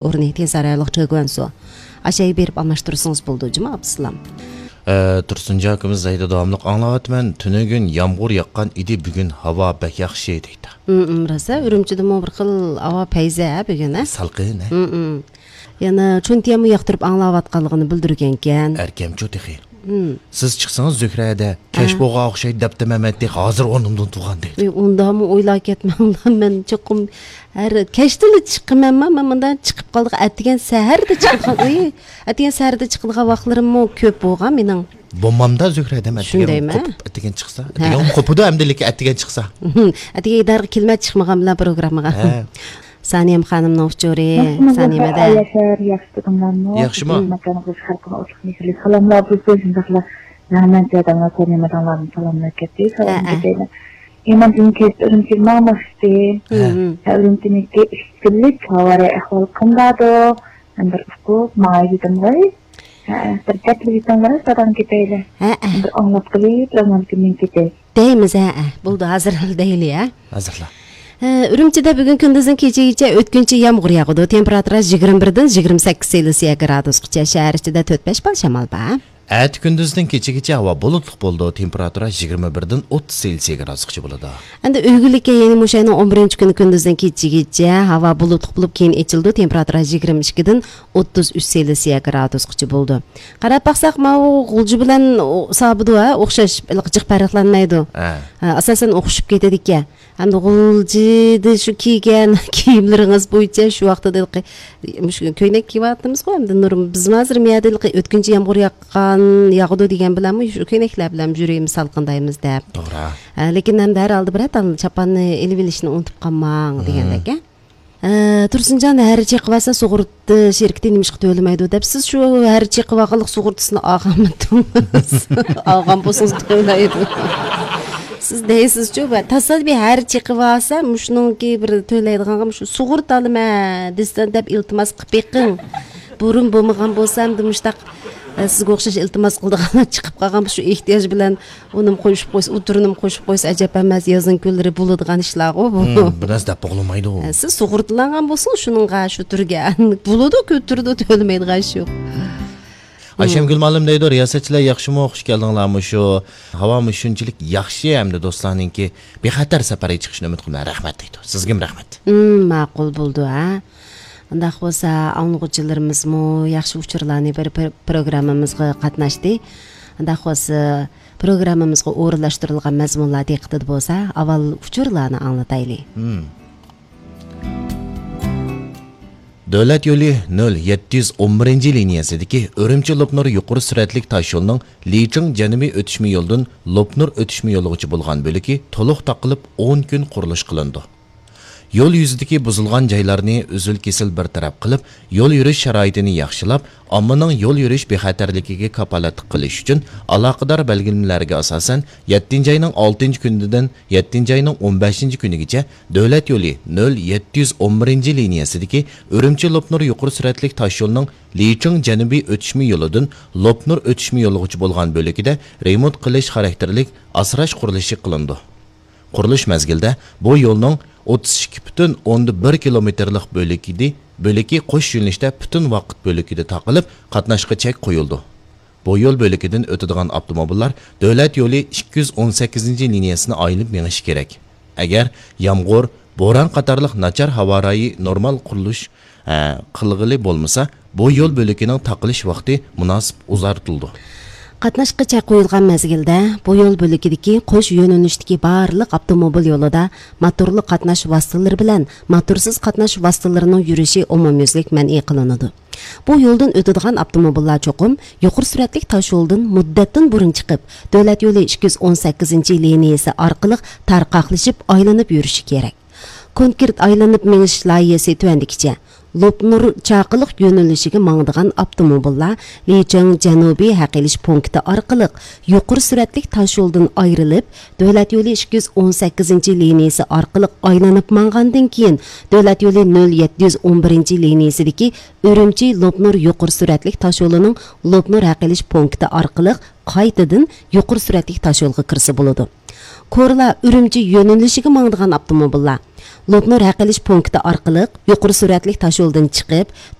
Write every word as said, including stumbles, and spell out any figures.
ئورنى تيەنسان رايونلۇق چېگۇەنسۇ. ئاشۇ يەرگە بېرىپ ئالماشتۇرسىڭىز بولىدۇ، جۇما ئابدۇسالام. ئە، تۇرسۇنجان ئاكىمىز دەيدۇ، داۋاملىق ئاڭلاۋاتىمەن. تۈنۈگۈن يامغۇر ياغقان ئىدى، بۈگۈن ھاۋا بەك ياخشى دەيدۇ. ھىم، ھىم، راست ھە، ئۈرۈمچىدىمۇ بىر خىل ھاۋا پەيزى ھە بۈگۈن ھە؟ سالقىن ھە؟ ھىم، ھىم. يەنە چۈنتيەنمۇ ياقتۇرۇپ ئاڭلاۋاتقانلىقىنى بىلدۈرگەنكەن. ئەركەمچۇ تېخى. ھىم. سىز چىقسىڭىز زۆھرە ھەدە، كەچ ھە. بولغان ئوخشايدۇ دەپتىمەن مەن تېخى، ھازىر ئورنۇمدىن تۇرغان دەيدۇ. ئى، ئۇنداقمۇ ئويلاپ كەتمەڭلار، مەن چوقۇم ھەر، كەچتىلا چىقىمەنما، مەن مۇنداق چىقىپ قالىدىغان، ئەتىگەن سەھەردە چىقىدىغان، ئۇي، ئەتىگەن سەھەردە چىقىدىغان ۋاقىتلىرىممۇ كۆپ بولغان مېنىڭ. بولمامدا زۆھرە ھەدەم ئەتىگەن شۇندايمۇ؟ قوپۇپ ئەتىگەن چىقسا؟ ھە. ئەتىگەن قوپىدۇ ئەمدى لېكىن ئەتىگەن چىقسا. ئەتىگەن ئىدارىگە كېلىمەن چىقمىغان بىلەن پروگراممىغا. ھە. سانىيەم خانىمنىڭ ئۇچۇرى، ياخشىمۇ، سانىيەم ھەدە. ياشار، ياخشى تۇردۇڭلارمۇ؟ ياخشىمۇ؟ ماكانىڭىز خەلقىمگە ئوتلۇق مېھىرلىك سالاملار بولسۇن، شۇنداقلا ياڭمەنچە ئادەملەر سانىيەم ئادەملەردىن سالاملار كەتتى، سالام ھە، ھە. كېتەيلى. ئىمان دىن كەچتە ئۈرۈمچىگە ماڭماقچى. ھە. ھە، ئۈرۈمچىنىڭكى ئىككى كۈنلۈك ھاۋا رايى ئەھۋالى قانداقدۇ؟ مەن بىر ئۇقۇپ ماڭاي دېدىم غوي. ھە، بىر دەپلا دېسەڭلار، سادام كېتەيلى. ھە، ھە. بىر ئاڭلاپ قېلىپ، ئاڭلاپ كېلىپ كېتەي. دەيمىز، ھە، ھە. بولدى، ھازىر دەيلى، ھە. ھازىرلا. ھە، ئۈرۈمچىدە بۈگۈن كۈندۈزدىن كېچىگىچە ئۆتكۈنچى يامغۇر ياغىدۇ. تېمپېراتۇرا يىگىرمە بىردىن يىگىرمە سەككىز سېلسىيە گرادۇسقىچە. شەھەر ئىچىدە تۆت بەش بال شامال بار. ئەتە كۈندۈزدىن كېچىگىچە ھاۋا بۇلۇتلۇق بولىدۇ. تېمپېراتۇرا يىگىرمە بىردىن ئوتتۇز سېلسىيە گرادۇسقىچە بولىدۇ. ئەمدى ئۆگۈنلۈككە، يەنى مۇشۇ ئاينىڭ ئون بىرىنچى كۈنى كۈندۈزدىن كېچىگىچە ھاۋا بۇلۇتلۇق بولۇپ، كېيىن ئېچىلىدۇ. تېمپېراتۇرا يىگىرمە ئىككىدىن ئوتتۇز ئۈچ سېلسىيە گرادۇسقىچە بولىدۇ. قاراپ باقساق، ماۋۇ غۇلجا بىلەن ئۇ سابىدۇ، ھە، ئوخشاش، ھېلىقى جىق پەرقلەنمەيدۇ. ھە. ھە، ئاساسەن ئوخشىشىپ كېتىدىكەن. ھەمدە غۇلجىدا شۇ كىيگەن كىيىملىرىڭىز بويىچە شۇ ۋاقىتتا ھېلىقى، مۇشۇ كۆينەك كىيىۋاتىمىزغۇ، ھەمدە نۇرۇم، بىز ھازىر مۇ يەردە ھېلىقى ئۆتكۈنچى يامغۇر ياغقان، ياغىدۇ دېگەن بىلەنمۇ شۇ كۆينەكلەر بىلەن يۈرىمىز سالقىندايمىز دەپ. توغرا. ھە، لېكىن ھەمدە ھەر ھالدا بىرەر تال چاپاننى ئېلىۋېلىشنى ئۇنتۇپ قالماڭ دېگەندەك، ھە. ئە، تۇرسۇنجان، ھەر چېقىۋالسا سۇغۇرتا شىركىتى نېمىشقا تۆلىمەيدۇ دەپ، سىز شۇ ھەر چېقىۋالغانلىق سۇغۇرتىسىنى ئالغانمىدىڭىز؟ ئالغان بولسىڭىز تۆلەيدۇ. سىز دەيسىزچۇ، بە-، تاسادىپىي ھەر چېقىۋالسا، مۇشۇنىڭكى بىر تۆلەيدىغانغا مۇشۇ سۇغۇرتا ئالىمەن دېسە دەپ ئىلتىماس قىلىپ بېقىڭ. بۇرۇن بولمىغان بولسا، ئەمدى مۇشتاق، ئە، سىزگە ئوخشاش ئىلتىماس قىلىدىغانلار چىقىپ قالغان شۇ ئېھتىياج بىلەن ئۇنىمۇ قوشۇپ قويسا، ئۇ تۈرىنىمۇ قوشۇپ قويسا ئەجەب ئەمەس، يازنىڭ كۈنلىرى بولىدىغان ئىشلارغۇ بۇ. ھىم، بىر نەرسە دەپ بولمايدۇ. ئە، سىز سۇغۇرتىلانغان بولسىڭىز شۇنىڭغا، شۇ تۈرگە. بولىدۇ، كۆتۈرىدۇ، تۆلىمەيدىغان ئىش يوق. ئايشەمگۈل مۇئەللىم دەيدۇ، رىياسەتچىلەر ياخشىمۇ، خۇش كەلدىڭلارمۇ شۇ. ھاۋامۇ شۇنچىلىك ياخشى، ئەمدى دوستلارنىڭكى بىخەتەر سەپەرگە چىقىشىنى ئۈمىد قىلىمەن. رەھمەت دەيدۇ. سىزگىمۇ رەھمەت. ھىم، ماقۇل بولدى، ھە. ئۇنداق بولسا، ئاڭلىغۇچىلىرىمىزمۇ ياخشى ئۇچۇرلارنى بېرىپ، پرو-، پروگراممىمىزغا قاتناشتى. ئۇنداق بولسا، پروگراممىمىزغا ئورۇنلاشتۇرۇلغان مەزمۇنلار دىققىتىدە بولسا، ئاۋۋال ئۇچۇرلارنى ئاڭلىتايلى. ھىم. دۆلەت يولى نۆل يەتتە يۈز ئون بىرىنچى لىنىيەسىدىكى ئۈرۈمچى لوپنۇر يۇقىرى سۈرئەتلىك تاشيولىنىڭ لىچىڭ جەنۇبىي ئۆتۈشمە يولىدىن لوپنۇر ئۆتۈشمە يولىغىچە بولغان بۆلىكى تولۇق تاقىلىپ، ئون كۈن قۇرۇلۇش قىلىنىدۇ. يول يۈزىدىكى بۇزۇلغان جايلارنى ئۈزۈل-كېسىل بىر تەرەپ قىلىپ، يول يۈرۈش شارائىتىنى ياخشىلاپ، ئاممىنىڭ يول يۈرۈش بىخەتەرلىكىگە كاپالەتلىك قىلىش ئۈچۈن، ئالاقىدار بەلگىلىمىلەرگە ئاساسەن، يەتتىنچى ئاينىڭ ئالتىنچى كۈنىدىن يەتتىنچى ئاينىڭ ئون بەشىنچى كۈنىگىچە دۆلەت يولى نۆل يەتتە يۈز ئون بىرىنچى لىنىيەسىدىكى ئۈرۈمچى لوپنۇر يۇقىرى سۈرئەتلىك تاشيولىنىڭ لىچىڭ جەنۇبىي ئۆتۈشمە يولىدىن لوپنۇر ئۆتۈشمە يولىغىچە بولغان بۆلىكىدە رېمونت قىلىش خاراكتېرلىك ئاسراش قۇرۇلۇشى قىلىنىدۇ. قۇرۇلۇش مەزگىلىدە بۇ يولنىڭ ئوتتۇز ئىككى پۈتۈن ئوندىن بىر كىلومېتىرلىق بۆلىكىدى، بۆلىكى قوش يۆنىلىشتە پۈتۈن ۋاقىت بۆلىكىدە تاقىلىپ، قاتناشقا چەك قويۇلىدۇ. بۇ يول بۆلىكىدىن ئۆتىدىغان ئاپتوموبىللار دۆلەت يولى ئىككى يۈز ئون سەككىزىنچى لىنىيەسىنى ئايلىنىپ مېڭىشى كېرەك. ئەگەر يامغۇر، بوران قاتارلىق ناچار ھاۋا رايى نورمال قۇرۇلۇش، ئە، قىلغىلى بولمىسا، بۇ يول بۆلىكىنىڭ تاقىلىش ۋاقتى مۇناسىپ ئۇزارتىلىدۇ. قاتناشقا چەك قويۇلغان مەزگىلدە بۇ يول بۆلىكىدىكى قوش يۆنىلىشتىكى بارلىق ئاپتوموبىل يولىدا موتورلۇق قاتناش ۋاسىتىلىرى بىلەن موتورسىز قاتناش ۋاسىتىلىرىنىڭ يۈرۈشى ئومۇميۈزلۈك مەنئى قىلىنىدۇ. بۇ يولدىن ئۆتىدىغان ئاپتوموبىللار چوقۇم يۇقىرى سۈرئەتلىك تاشيولدىن مۇددەتتىن بۇرۇن چىقىپ، دۆلەت يولى ئىككى يۈز ئون سەككىزىنچى لىنىيەسى ئارقىلىق تارقاقلىشىپ ئايلىنىپ يۈرۈشى كېرەك. كونكرېت ئايلىنىپ مېڭىش لايىھەسى تۆۋەندىكىچە: لوپنۇر چاقىلىق يۆنىلىشىگە ماڭىدىغان ئاپتوموبىللار لىچىڭ جەنۇبىي ھەق ئېلىش پونكىتى ئارقىلىق يۇقىرى سۈرئەتلىك تاشيولدىن ئايرىلىپ، دۆلەت يولى ئىككى يۈز ئون سەككىزىنچى لىنىيەسى ئارقىلىق ئايلىنىپ ماڭغاندىن كېيىن، دۆلەت يولى نۆل يەتتە يۈز ئون بىرىنچى لىنىيەسىدىكى ئۈرۈمچى لوپنۇر يۇقىرى سۈرئەتلىك تاشيولىنىڭ لوپنۇر ھەق ئېلىش پونكىتى ئارقىلىق قايتىدىن يۇقىرى سۈرئەتلىك تاشيولغا كىرسە بولىدۇ. كورلا ئۈرۈمچى يۆنىلىشىگە ماڭىدىغان ئاپتوموبىللار لوپنۇر ھەق ئېلىش پونكىتى ئارقىلىق يۇقىرى سۈرئەتلىك تاشيولدىن چىقىپ،